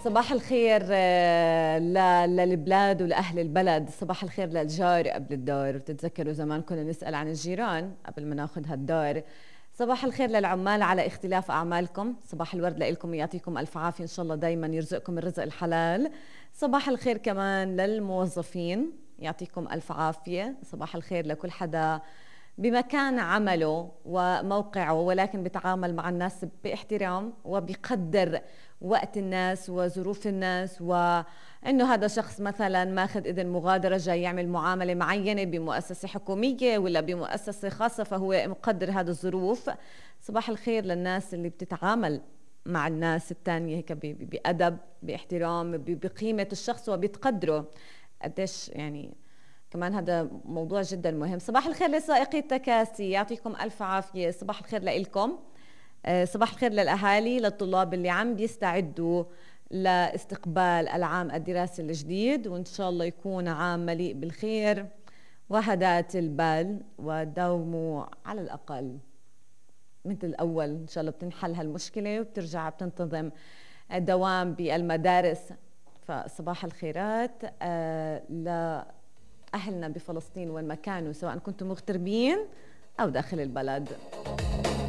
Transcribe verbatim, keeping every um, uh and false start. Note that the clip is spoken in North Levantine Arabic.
صباح الخير آه، ل- للبلاد ولأهل البلد. صباح الخير للجار قبل الدار. بتتذكروا زمان كنا نسأل عن الجيران قبل ما ناخد هالدار. صباح الخير للعمال على اختلاف أعمالكم. صباح الورد لإلكم، يعطيكم ألف عافية، إن شاء الله دايما يرزقكم الرزق الحلال. صباح الخير كمان للموظفين، يعطيكم ألف عافية. صباح الخير لكل حدا بمكان عمله وموقعه ولكن بيتعامل مع الناس باحترام وبيقدر وقت الناس وظروف الناس، وانه هذا شخص مثلا ماخذ اذن مغادره جاي يعمل معامله معينه بمؤسسه حكوميه ولا بمؤسسه خاصه، فهو مقدر هذه الظروف. صباح الخير للناس اللي بتتعامل مع الناس الثانيه هيك بأدب باحترام بقيمه الشخص وبتقدره قديش، يعني كمان هذا موضوع جدا مهم. صباح الخير لسائقي التكاسي، يعطيكم ألف عافية. صباح الخير لإلكم. صباح الخير للأهالي، للطلاب اللي عم بيستعدوا لاستقبال العام الدراسي الجديد، وإن شاء الله يكون عام مليء بالخير وهدات البال، وداوموا على الأقل مثل الأول إن شاء الله بتنحل هالمشكلة وبترجع بتنتظم الدوام بالمدارس. فصباح الخيرات آه لأهلنا بفلسطين وين ما كانوا، سواء كنتم مغتربين أو داخل البلد.